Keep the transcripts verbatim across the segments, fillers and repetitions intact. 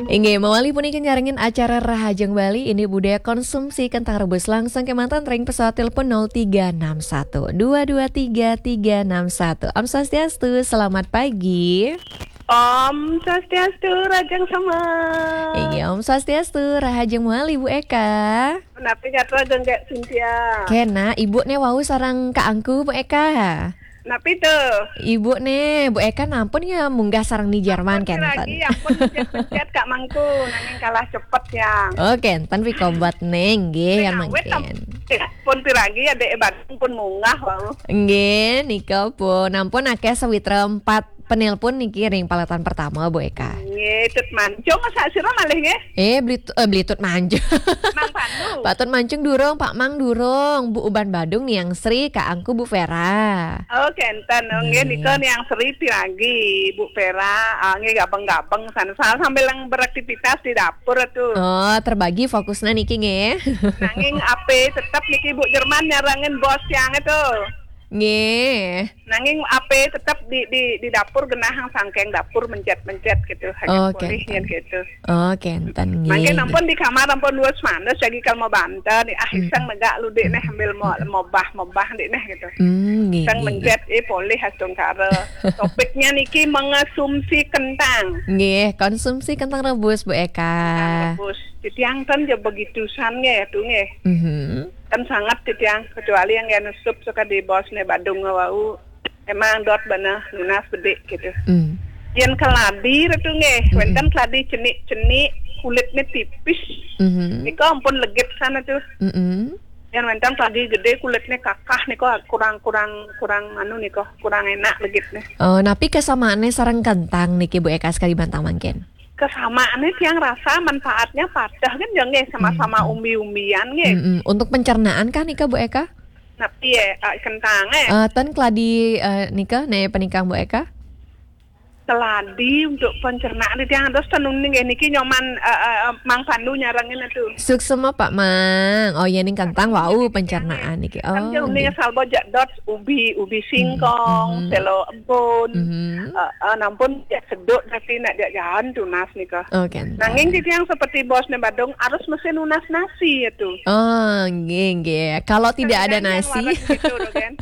Inggih, mawali puniki nyarengin acara Rahajeng Bali, indik budaya konsumsi kentang rebus. Langsung kemanten ring pesawat telepon nol tiga enam satu dua dua tiga tiga enam satu. Om Swastiastu, selamat pagi. Om Swastiastu, Rahajeng Sema. Inggih, Om Swastiastu, Rahajeng mawali Bu Eka. Napi gatra Gék Cynthia? Kena, Ibu né wau sareng Kak Angku, Bu Eka. Napi to? Ibu né, Bu Eka nampun ya munggah sareng Ni Jerman, ampun, kenten. Piragi, ampun, mencet-mencet Kak Mangku, nanging kalah cepet ya. Oh, kenten, pikobat né, nggih, ya, mangkin. Pun piragi ya, Dék Badung pun munggah wau. Nggih, nika pun. Nampun akéh sawitra empat penelpon niki ring paletan pertama, Bu Eka. Nggih, Tut Mancung, masa sira malih nggih? Eh, beli, eh, beli Tut Mancung. Mang Pandu. Pak Tut Mancung durung, Pak Mang durung, Bu Uban Badung, Niang Sri, Kak Angku, Bu Vera. Oh, kenten. Oh, nggih, nggih, nika Niang Sri piragi, Bu Vera. Ah, nggih, gabeng-gabeng sana. Sambil yang beraktivitas di dapur tuh. Oh, terbagi fokusnya niki nggih. Nanging ape tetep niki Bu Jerman nyarengin bos tiang itu. Nggih. Nanging ape tetep di, di, di dapur genah sangkeng dapur mencet-mencet gitu. Hanya. Oh, polih kenten. Gitu. Oh, kenten, nggih, mangkin nggih. Ampun di kamar ampun wis mandes lagi kalau mau banten. Ah, hmm, iseng negak lu, Dék, neh, ambil mau, hmm, mau bah, mau bah, Dék, neh, gitu. Hmm, nggih, iseng, nggih, mencet, nggih. Eh, polih astungkara. Topiknya niki mengonsumsi kentang. Nggih, konsumsi kentang rebus, Bu Eka. Kentang rebus. Titiang kan ya begitu san nggih, tuh nggih. Mhm. Kan sangat titiang, kecuali yang ya nesup suka di bos né Badung wau. Emang dot bana nunas bedik gitu. Hmm. Yén keladi itu nggih, hmm, wénten keladi cenik-cenik, kulitnya tipis. Mhm. Nika ampun legit sana tuh. Mhm. Yén wénten keladi gedé kulitnya kakah nika kurang, kurang, kurang anu nika, kurang enak legitnya. Oh, napi kesamaannya sareng kentang niki Bu Eka sekali bantang mangkin? Kesamaannya tiang rasa manfaatnya padah kan ya nggih, sama-sama, hmm, umbi-umbian nggih. Mm-mm. Untuk pencernaan kah nika Bu Eka? Napi ya, ah, kentang, eh? Eh, ten keladi, eh, nika, né penikang Bu Eka? Keladi untuk pencernaan tiang terus tenun nggih niki nyoman, eh, eh, Mang Pandu nyarengin itu. Suksema Pak Mang. Oh ya, ning kentang wau pencernaan niki. Kan jauh nih nggih. Asal bojak dot ubi, ubi singkong, mhm, selo embun. Mhm. Eh, eh, nampun ya seduk tapi nak jak jalan tunas nika. Oh, kenten. Nanging titiang seperti bos né Badung harus mesti nunas nasi itu. Oh, nggih, nggih. Kalau tidak ada nasi. Kan yang waras gitu loh, kan.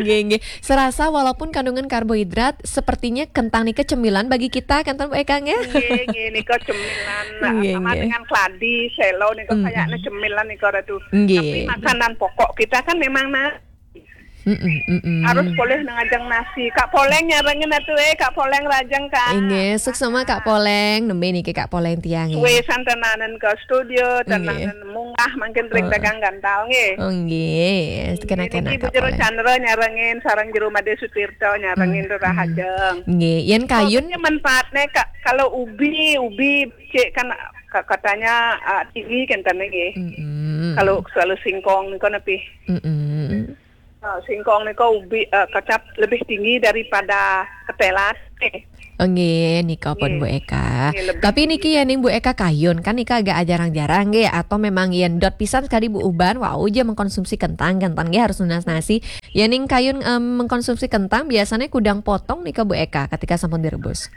Nggih, nggih. Serasa walaupun kandungan karbohidrat, sepertinya kentang nika cemilan bagi kita, kenten Bu Eka nggih? Nggih, nggih, nika cemilan. Nah, nggih, sama nggih. Dengan keladi, selo nika, mm-mm, kayaknya cemilan nika, Ratu. Nggih. Tapi makanan pokok kita kan memang nasi. Mm-mm, mm-mm. Harus polih nang ajeng nasi. Kak Poleng nyarengin atuh, eh, Kak Poleng Rahajeng, Kak. Inggih, suksema Kak Poleng. Nembe niki Kak Poleng tiang, nggih. Suwe san tenanan ke studio, inggih, tenanan munggah mangkin ring, oh, dagang gantal nggih. Oh, nggih. Nggih, kena-kena niki Kak Bujur Poleng. Chandra nyarengin, sareng Jero Made Sutirta nyarengin, hmm, Rahajeng. Nggih, yén kayun. Pokoknya manfaatnya, Kak, kalau ubi, ubi cek kan ka-, katanya, ah, tinggi kan tadi nggih. Mm-mm. Kalau selalu singkong niku napi? Mm-mm. Eh, singkong niku ubi, eh, kecap lebih tinggi daripada ketelan. Eh. Oh, nggih, nika pun, nggih. Bu Eka. Nggih, lebih tinggi. Tapi niki ya ning Bu Eka kayun, kan nika agak jarang-jarang nggih, atau memang yén dot pisan sekali Bu Uban, wau ja mengkonsumsi kentang, kentang nggih harus nunas nasi. Ya ning kayun, em, mengkonsumsi kentang biasanya kudang potong nika Bu Eka ketika sampun direbus.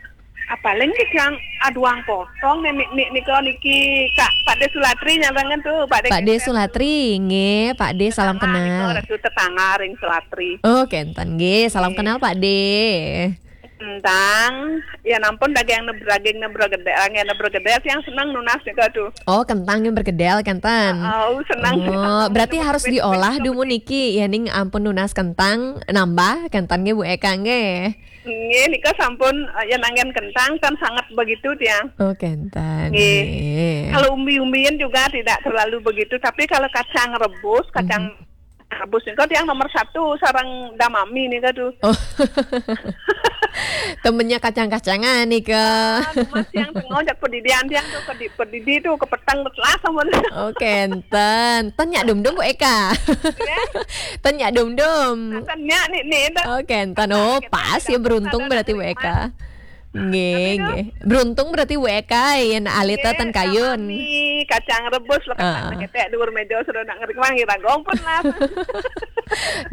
Apaling ki yang aduang potong nih, nih, nih, nika niki Kak Pakde Sulatri nyarengin tuh, Pakde Pakde Keset. Sulatri, nggih, Pakde salam kenal. Nika Ratu tetangga ring Sulatri. Oh, kenten nggih, salam kenal Pakde. Kentang, ya nampun daging nebraging nebregedel, yang nebregedel yang senang nunas nika tuh. Oh, kentang yang bergedel, kenten. Oh, senang. Oh, berarti harus diolah dumun niki, ya ning ampun nunas kentang, nambah, kenten nggih Bu Eka nggih. Nggih, nika sampun, eh, yen anggen kentang kan sangat begitu tiang. Oh, kenten. Nggih. Nggih. Kalau umbi-umbian juga tidak terlalu begitu, tapi kalau kacang rebus, kacang, mhm, rebus nika tiang nomor satu sareng damami nika tuh. Oh. Temennya kacang-kacangan nika. Ah, Mas yang tengok jak pedidian tiang tuh, pedi-, pedidi tuh kepetang telas sampun. Oh, kenten. Ten nyak dum-dum Bu Eka. Ya. Ten nyak dum-dum. Nah, ten nyak nih, nih, ten. Oh, kenten. Oh, pas ya, beruntung berarti Bu Eka. Nggih, nggih. Beruntung berarti Bu Eka, yen alita ten kayun. Nggih, kacang rebus lho, kacang ketek dhuwur meja sudah nak ngering wangi ragong pun lah.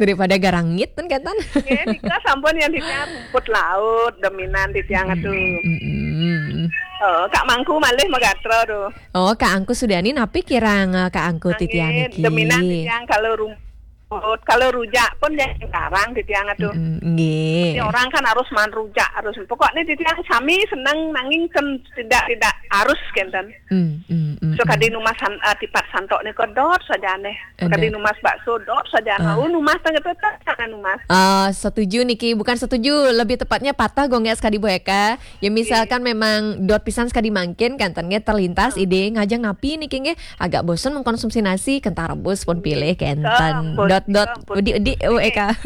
Daripada garangit ten kenten. Nggih, nika sampun yang titiang rumput laut, dominan titiang atuh. Mm-mm. Oh, Kak Mangku malih magatra tu. Oh, Kak Angku Sudani, napi kirang, eh, Kak Angku titiang niki? Demenan titiang kalau rumput, kalau rujak pun jangan karang titiang atuh. Mm, nggih. Orang kan harus maan rujak, harus. Pokoknya titiang sami seneng nanging kan tidak, tidak harus kenten. Mm, mm, mm, so, mm. Kadi numas san-, eh, tipat santok nika dot saja neh. Kadi numas bakso dot saja. Ah. Oh, numas tengah tetap sana numas. Ah, setuju niki, bukan setuju, lebih tepatnya patah gonggek sekali Bu Eka. Ya, misalkan memang dot pisan sekali mangkin, kenten nggih terlintas ide ngajeng napi niki nggih, agak bosen mengkonsumsi nasi, kentang rebus pun pilih kenten. Dot, dot, udi, udi, Bu Eka.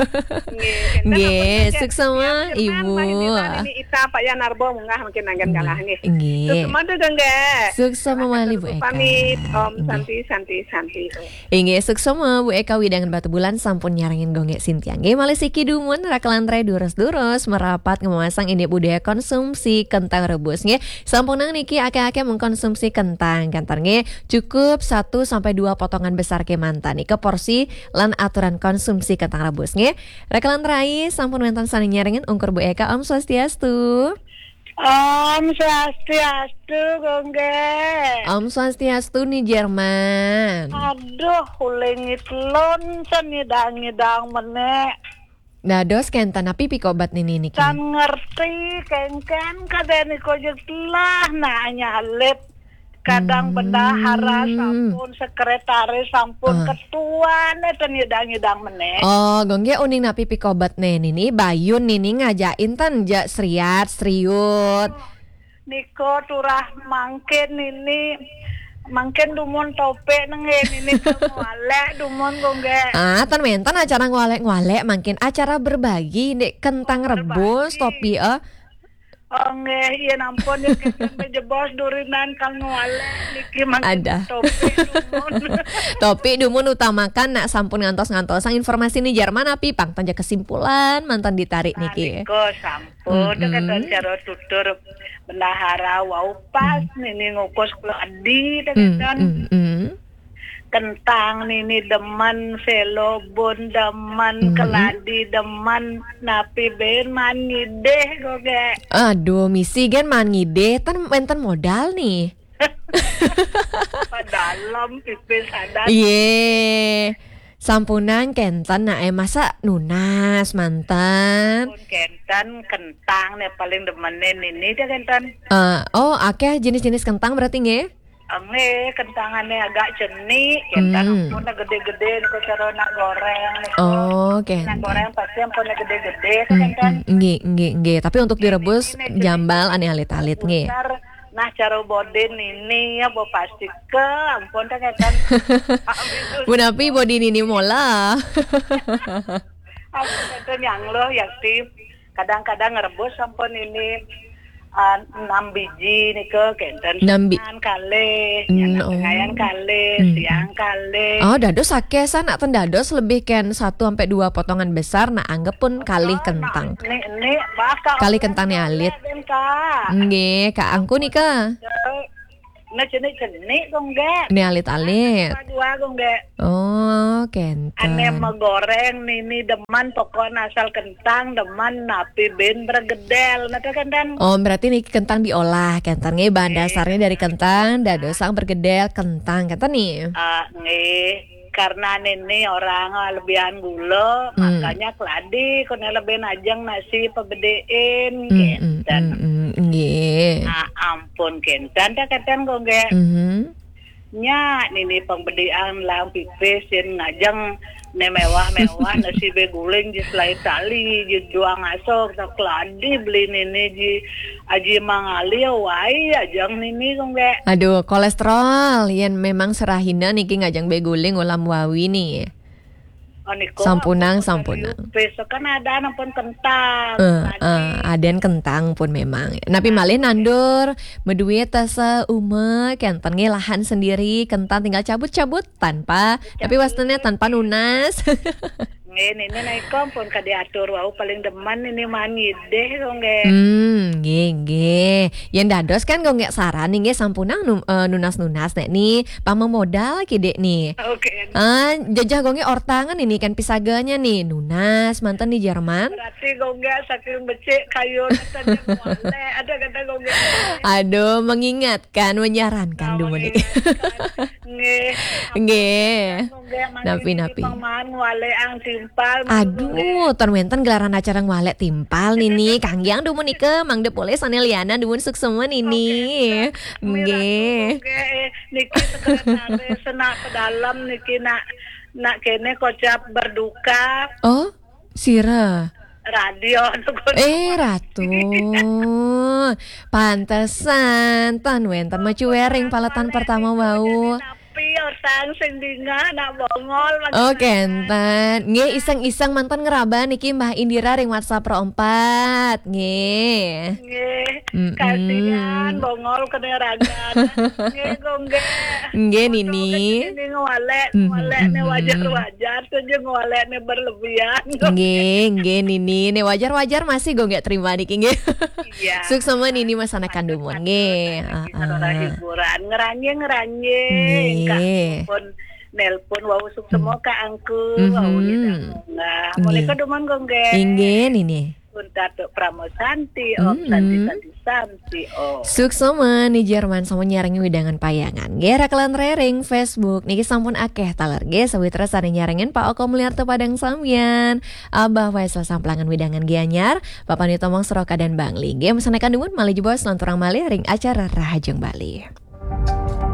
Nggih, suksema, Ibu. Ini Ita Pak Yan Arbo munggah mungkin anggen kalah nggih. Nggih. Suksema tu, Gengge. Suksema malih, Bu Eka. Pamit, Om Santi, Santi, Santi. Inggih, suksema Bu Eka wewidangan Batubulan sampun nyarengin gonggek sintiang. Nggih, malih siki dumun rakelan rai durus-durus merapat ngemamasang indik budaya konsumsi kentang rebus nggih. Sampunang niki akeh-akeh mengkonsumsi kentang, kenten nggih. Cukup satu sampai dua potongan besar kemanten. Nika porsi lan aturan konsumsi kentang rebus nggih. Rakelan rai sampun wenten sane nyarengin ungkur Bu Eka, Om Swastiastu. Om Swastiastu, Gongge. Om Swastiastu, Ni Jerman. Aduh, ulingit lon sen ngidang-ngidang menek. Dados kenten napi pikobat nini niki? Tan ngerti, kengken kadeni kojek telah, nah, nyalit. Kadang bendahara sampun, sekretaris sampun, ketua ne ten ngidang-ngidang menek. Oh, Gongge uning napi pikobat ne nini, bayun nini ngajain ten ja seriat, seriut. Niko turah mangkin nini, mangkin dumun topik nengge nini ke ngwalek dumun, Gongge. Ah, ten menten acara ngwalek-ngwalek, mangkin acara berbagi, dek kentang rebus, topi, eh. Oh, nggih, iya nampun, ya, kenten bejebos durinan kang ngwalek niki mangkin. Ada. Topi dumun. Topi dumun utamakan nak sampun ngantos-ngantosang informasi ni Jerman api pang tanja kesimpulan mantan ditarik niki. Nalika sampun, kenten cara tutur bendahara wau pas nini ngukus keladi, kenten. Kentang nini demen, selobon demen, keladi demen, napi ben maan ngidih, Gongge. Aduh, misi gen maan ngidih, ten menten modal nih. Padalem, pipis adat. Iye. Sampunang kenten, nah, eh, masa nunas manten. Pun kenten, kentang ne paling demenin nini dia kenten. Eh, oh, akeh jenis-jenis kentang berarti nggih? Nggih, kentangane agak cenik, kenten ampun gede-gede niku cara nak goreng niku. Oh, kenten. Nak goreng pasti ampun gede-gede, kenten. Nggih, nggih, nggih. Tapi untuk direbus jambal ane alit-alit nggih. Nah, cara bodin nini ya, bo pasti ke, ampun, kenten. Punapi bodin nini mola? Ampun, kenten yang loh, yakti. Kadang-kadang ngerebus sampun nini, ah, enam biji nika, kenten. Enam bi-, siang kalih, mm, oh, ngayan kalih, mm, siang kalih. Oh, dados akeh sanak ten dados lebih ken satu sampai dua potongan besar, nak anggap pun kalih kentang. Nek, nek, bakal kalih kentang ni alit. Nggih, Kak Angku nika. Nah, cenik-cenik, Gongge. Ni alit-alit. Dua, Gongge. Oh, kenten. Ane megoreng nini demen pokoknya asal kentang demen napi ben bergedel, napa kenten? Oh, berarti niki kentang diolah, kenten nggih, bahan dasarnya dari kentang, dadosang bergedel kentang, kenten nih. Ah, nggih. Karena nini orang lebihan gula, makanya keladi kone lebih najeng nasi pebedeen, kenten. Nggih. Ah, ampun, kenten, dah kenten, Gongge. Nya, nini pang bedian lang pipis, yen ngajeng ne mewah-mewah, nasi beguling, je selai tali, je juang asok, tak keladi beli nini, ji aji mangali, wai, ajeng nini, Gongge. Aduh, kolesterol, yen memang serahina niki ngajeng beguling ulam wawi nih. Oh, niku sampunang, ampun, sampunang. Besok kan ada ampun kentang. Eh, eh, aden kentang pun memang. Napi malih nandur, meduit tasa uma, kenten nggih lahan sendiri, kentang tinggal cabut-cabut tanpa, tapi wastannya tanpa nunas. Nggih, nini naik kompon ka diatur wau paling demen nini maan ngidih kok nggih. Hmm, nggih nggih. Yen dados kan kok nggih saran nih nggih sampunang nu- eh, nunas-nunas nek nih pamemodal kidik nih. Oke. Ah, jajah kok nggih ortangan ini kan pisaganya nih nunas manten di Jerman. Berarti kok nggih saking becik kayu saja ngwalek. Ada kata kok nggih. Aduh, mengingatkan, menyarankan dumun niki. Nggih. Nggih. Kok nggih mangkin Napi, niki napi. Pang maan ngwalek ang timpal. Aduh, ton wenten gelaran acara ngwalek timpal nini. Kanggiang dumun nika mangda polih sane lianan dumun suksema nini. Nggih. Nggih, niki sekretaris senak pedalem niki nak nak kene kocap berduka Oh, sira. Radio. Eh, Ratu. Pantesan ton wenten macuwering paletan pertama wau. Tapi orang sing dingah nak bongol. Oh, kenten. Nggih, iseng-iseng manten ngeraba niki Mbah Indira ring WhatsApp ro empat. Nggih. Nggih. Mm-mm. Kasihan bongol kena ragan. Nggih, kok nggih. Nggih, Nini. Ini ngwalek, Mhm, ngwalek ne mhm. Wajar-wajar saja ngwalek ne berlebihan. Nggih, nggih Nini. Ne wajar-wajar masih kok nggih terima niki nggih. Iya. Suksema Nini masanakan dumun nggih. Niki ora Heeh. Hiburan ngeranye-ngeranye. Nggih. Engkak pun nelpon wau suksema Kak Angku, Mhm. wau ida munggah. Nggih. Mereka dumun kok nggih. Inggih Nini. Pun Datuk Pramo Santi, Om Mhm. Santi Santi Santi, Om. Suksema Ni Jerman sama nyarangi wedangan payangan. Nggih, rakelan rering Facebook niki sampun akeh taler nggih sawitra sane nyarengin Pak Oko Mulyarto Padang Sambian. Abah Waisel Samplangan wedangan Gianyar, Bapak Nito Mong Seroka dan Bangli. Nggih, masanakan dumun malih jebos lanturang malih ring acara Rahajeng Bali.